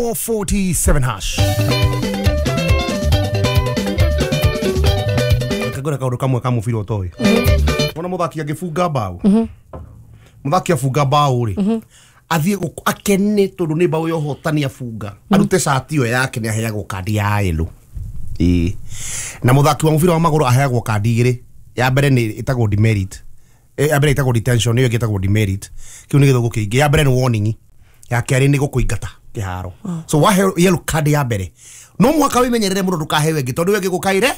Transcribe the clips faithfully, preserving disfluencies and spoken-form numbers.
Four forty-seven hash. Kagora kaundu kamwe ka mubira utoĩ. Wona muthaki angĩbunga mbaũ, muthaki abunga mbaũ rĩ, athiĩ gũkũ akene tondũ nĩ mbaũ ya ũhotani abunga, arute cati ĩyo yake, nĩ aheagwo kandi ya yellow. Ĩĩ, na mũthaki wa mũbira wa magũrũ aheagwo kandi igĩrĩ. Ya mbere nĩ ĩtagwo demerit. Eh, ya mbere ĩtagwo detention, ĩyo ĩngĩ ĩtagwo demerit. Kĩu nĩ gĩthũngũ kĩingĩ. Ya mbere nĩ warning, ya kerĩ nĩ gũkũingata kĩharo. So waheo yellow card ya mbere, no mũhaka wĩmenyerere mũno ndũkaheo ĩngĩ, tondũ ĩyo ĩngĩ gũkaire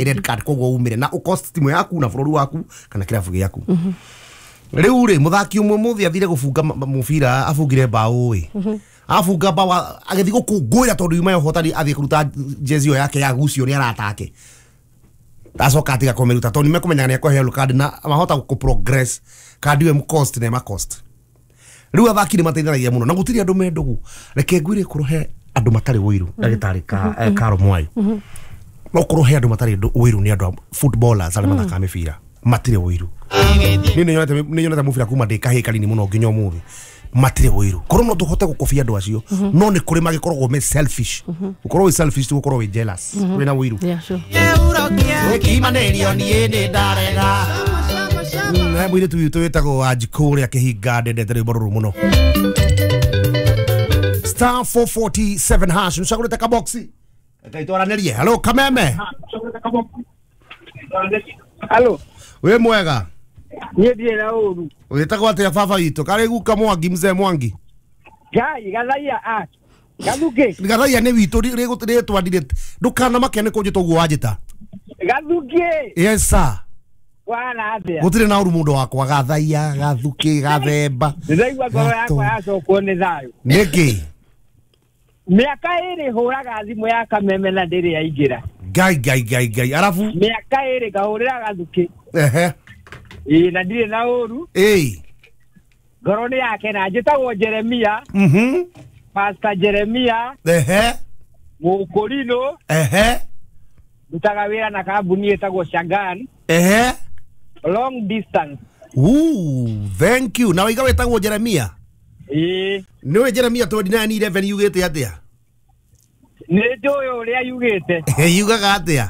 red card, koguo umĩre na ũcost timu yaku na bũrũri waku kana kĩrabu gĩaku. Rĩu rĩ, mũthaki ũmwe mũthĩ athire gũbunga ma- ma- mũbira, abungire mbaũ ĩ, abunga mbaũ agĩthiĩ gũkũngũĩra tondũ yuma ya ũhotani, athiĩ kũruta jezi ĩyo yake yagucio nĩ arata ake, acoka atiga kũmĩruta tondũ nĩmekũmenyaga nĩ ekũheo card na mahota kũ progress kandi ĩyo ĩmũcost na ĩmacost. Rĩu athaki nĩ mateithanagia mũno na gũtirĩ andũ me ndũgũ. Reke ngwĩre, kũrwo he andũ matarĩ ũiru, ndagĩtarĩ ka eh, Karo Mwai, no kũrwo he andũ matarĩ ndũ- ũiru nĩ andũ a footballers arĩa mathakaga mĩbira, matirĩ ũiru. Niĩ nĩ nyonete nĩ nyonete mũbira kuma ndĩ kahĩĩ kanini mũno nginya ũmũthĩ, matirĩ ũiru. Korwo no tũhote gũkobia andũ acio, no nĩ kũrĩ magĩkoragwo me selfish. Gũkorwo wĩ selfish ti gũkorwo wĩ jealous wĩna ũiru. Yeah, sure. Gũkimanĩrio niĩ nĩ ndarega. Mm, he mũirĩtu witũ wĩtagwo Wanjikũ ũrĩa kĩhinga, ndendete rwĩmbo rũrũ mũno. Star four forty-seven hash, nĩũcagũrĩte kaboxi, reke itwaranĩrie. Hello, Kameme. Halo, wĩ mwega? Niĩ ndirĩ na ũru. Wĩtagwo atĩa, baba witũ? Karĩ guka Mwangi, mzee Mwangi. Ngai, gathaia a. Gathuki, Gathaia nĩ witũ rĩtwa ndirĩ, ndũkanamake nĩ kũnjĩta ũguo wanjĩta. Gathuki, Yes sir. wana atĩa? Gũtirĩ na ũru, mũndũ wakwa. Gathaia, Gathuki, Gathemba. Ndĩraigua ngoro yakwa yacokwo nĩ thayũ. Nĩkĩ? Mĩaka ĩrĩ hũraga thimũ ya Kameme na ndĩrĩ yaingĩra. Ngai, Ngai, Ngai, Ngai, arabu? Mĩaka ĩrĩ ngahũrĩra Gathuki. Ehe. Ĩĩ, na ndirĩ na ũru. Ĩĩ. Ngoro nĩ yake na njĩtagwo Jeremia, mhm Pastor Jeremia, ehe Mũkũrinũ, ehe ndutaga wĩra na kambuni ĩtagwo Shangan, ehe long distance. Ooh, thank you. Na waiga wĩtagwo Jeremia? Ĩĩ. Nĩ ũĩ Jeremia twenty-nine eleven yugĩte atĩa? Nĩ njũĩ ũrĩa yugĩte. Yugaga atĩa?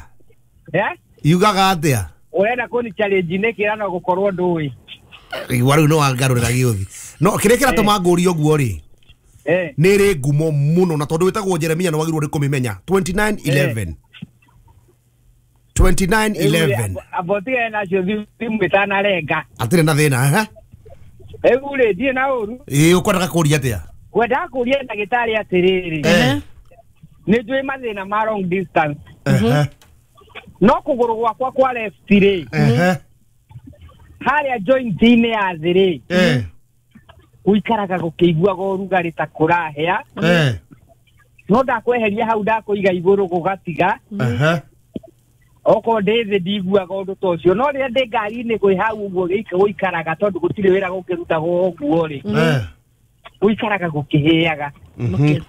Eh? Yugaga atĩa? Ũrenda kũni challenge nĩkĩ no gũkorwo ndũĩ? Igua rĩu no wangarũrĩra gĩũthi, no kĩrĩa kĩratũma ngũrie ũguo rĩ, Eh. nĩ ĩrĩ ngumo mũno, na tondũ wĩtagwo Jeremia nĩ wagĩrĩirwo nĩ kũmĩmenya. twenty-nine eleven, twenty-nine eleven. Amba ũtigane nacio thimũ ĩtanarenga. Atirĩ na thĩna, ehe. Rĩu rĩ, ndirĩ na ũru. Ĩĩ, ũkwendaga kũria atĩa? Ngwendaga kũria ndagĩtarĩ atĩrĩrĩ, Eh. nĩ njũĩ mathĩna ma long distance, ehe no kũgũrũ gwakwa kwa left rĩ, ehe harĩa joint-inĩ ya thĩ rĩ, eh gũikaraga gũkĩiguaga ũrugarĩ ta kũrahĩa, eh no ndakweheria hau ndakũiga igũrũ gũgatiga. Ehe okorwo ndĩ thĩ ndiguaga ũndũ ta ũcio, no rĩrĩa ndĩ ngari-inĩ kwĩ hau ũguo gĩika- gũikaraga, tondũ gũtirĩ wĩra gũkĩrutagwo ũguo rĩ, eh gũikaraga gũkĩhĩaga. Okay.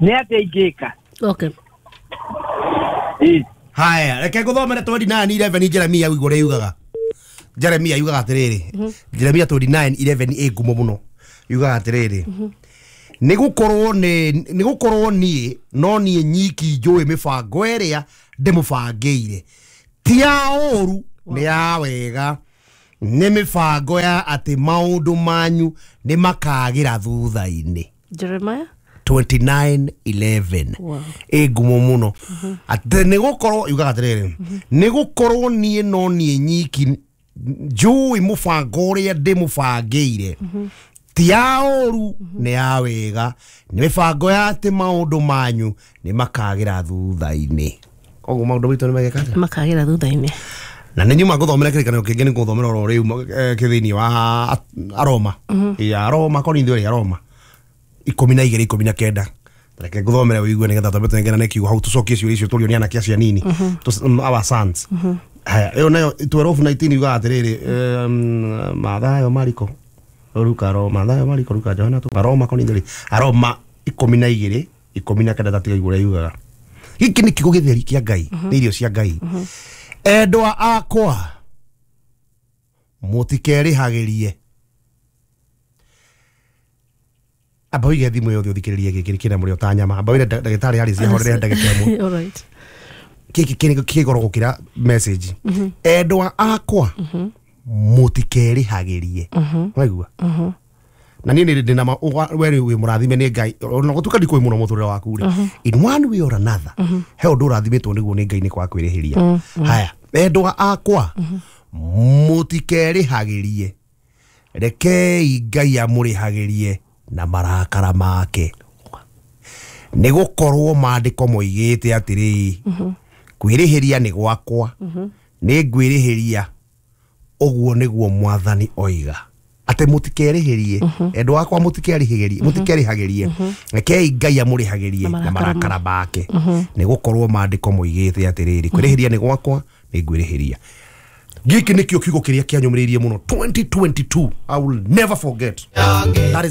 Nĩ atĩa ingĩka? Okay. Ĩ. Haya, reke nguthomere twenty-nine eleven Jeremia ũigua ũrĩa yugaga. Jeremia yugaga atĩrĩrĩ, Jeremia twenty-nine eleven ĩ ngumo mũno, yugaga atĩrĩrĩ, nĩ gũkorwo nĩ nĩ gũkorwo niĩ no niĩ nyiki njũĩ mĩbango ĩrĩa ndĩmũbangĩire, ti ya ũru, nĩ ya wega, nĩ mĩbango ya atĩ maũndũ manyu nĩ makagĩra thutha-inĩ. Jeremiah? twenty-nine eleven. Wow. Ĩ ngumo mũno, atĩ nĩ gũkorwo yugaga atĩrĩrĩ, nĩ gũkorwo niĩ no niĩ nyiki njũĩ mũbango ũrĩa ndĩmũbangĩire, ti ya ũru, nĩ ya wega, nĩ mĩbango ya atĩ maũndũ manyu nĩ makagĩra thutha-inĩ. Koguo maũndũ maitũ nĩ mageka atĩa? Makagĩra thutha-inĩ. Na nĩ nyuma ngũthomera kĩrĩkanĩro kĩngĩ, nĩ ngũthomera oro rĩu eh, kĩ thĩinĩ wa Aroma, ya Aroma, Korintho ya Aroma ikũmi na igĩrĩ ikũmi na kenda. Reke ngũthomere ũigue nĩgetha twambe tũnengerane kiugo hau, tũcokie ciũria icio tũrio nĩ anake acio anini. Tũs- mm, our sons. Haya, ĩyo nayo twelve nineteen yugaga atĩrĩrĩ, em, Mathayo, Mariko, Luka, Roma, Mathayo, Mariko, Luka, Johana, tu Aroma, Korintho rĩ, Aroma ikũmi na igĩrĩ ikũmi na kenda, tatiga igũrũ yugaga, gĩkĩ nĩ kiugo gĩtheri kĩa Ngai, nĩ irio cia Ngai. Endwa akwa, mũtikerĩhagĩrie. Amba wige thimũ yothe ũthikĩrĩrie gĩkĩ kĩna mũrĩo ta nyama. Amba wĩre ndagĩtarĩ Harris ahorere ndagĩka ĩmwe. All right. Gĩkĩ kĩ kĩ goro gũkĩra message. Endwa akwa, mũtikerĩhagĩrie. Waigua? Na niĩ nĩ ndĩna ma- ũga- we wĩ mũrathime nĩ Ngai, ona gũtuĩka ndikũĩ mũno mũtũrĩre waku rĩ, in one way or another he ũndũ ũrathimĩtwo nĩguo nĩ Ngai nĩ kwaga kwĩrĩhĩria. Haya, endwa akwa, mũtikerĩhagĩrie, rekei Ngai amũrĩhagĩrie na marakara make, nĩ gũkorwo maandĩko moigĩte atĩrĩ, kwĩrĩhĩria nĩ gwakwa, nĩ ngwĩrĩhĩria, ũguo nĩguo Mwathani oiga. Atĩ mũtikerĩhĩrie, endwa akwa, mũtikerĩhĩrie, mũtikerĩhagĩrie, rekei Ngai amũrĩhagĩrie Na na marakara marakara make, nĩ gũkorwo maandĩko moigĩte atĩrĩrĩ, kwĩrĩhĩria nĩ gwakwa, nĩ ngwĩrĩhĩria. Gĩkĩ nĩkĩo kiugo kĩrĩa kĩanyũmĩrĩirie mũno twenty twenty-two. I will never forget that.